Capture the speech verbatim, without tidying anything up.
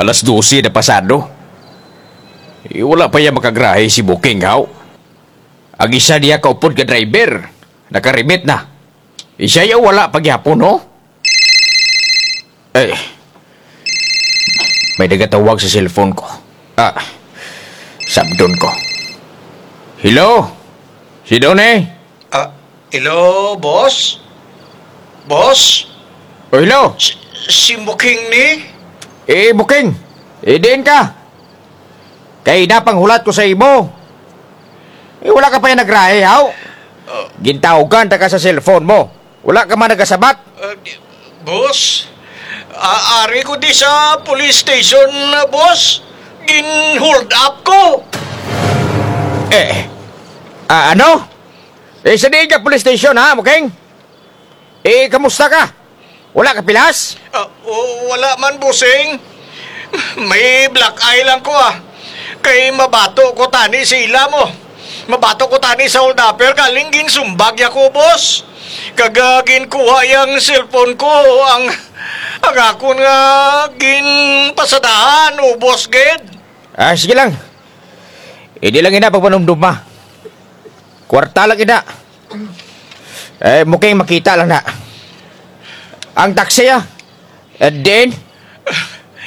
Alas dose na pasado. Eh, wala pa dya makagarahe si Buking, haw. Ang isa dya kaupod nga driver, naka-remit na. Eh, siya dya wala pa gihapon, no? Eh, may nagatawag sa cellphone ko. Ah, sabdon ko. Hello? Sin-o ni? Ah, hello, boss? Boss? O, hello? Si, si Buking ni? Eh, Buking. Eh, diin ka? Kay naa panghulat ko sa imo. Eh, wala ka pa dya nagrahe, haw? Ah. Gintawgan ta ka sa cellphone mo. Wala ka man nagasabat. Ah, di, boss, a-, ari ko di sa police station, boss. Gin-hold up ko. Eh, ah, ano? Eh, sa diin ka police station, ha, Buking? Eh, kamusta ka? Wala ka pilas? Ah, o, wala man, bossing. May black eye lang ko, ah. Kay mabato ko tani sa ila mo. Mabato ko tani sa hold-upper, kaling ginsumbag dya ko, boss. Kag, ah, ginkuha dya ang cellphone ko, ang, ang akon nga ginpasadahan, ubos gid. Ah, sige lang. Indi lang ina pagpanumduma. Kwarta lang ina. Eh, Buking, makita lang na. Ang taxi, ah. And then,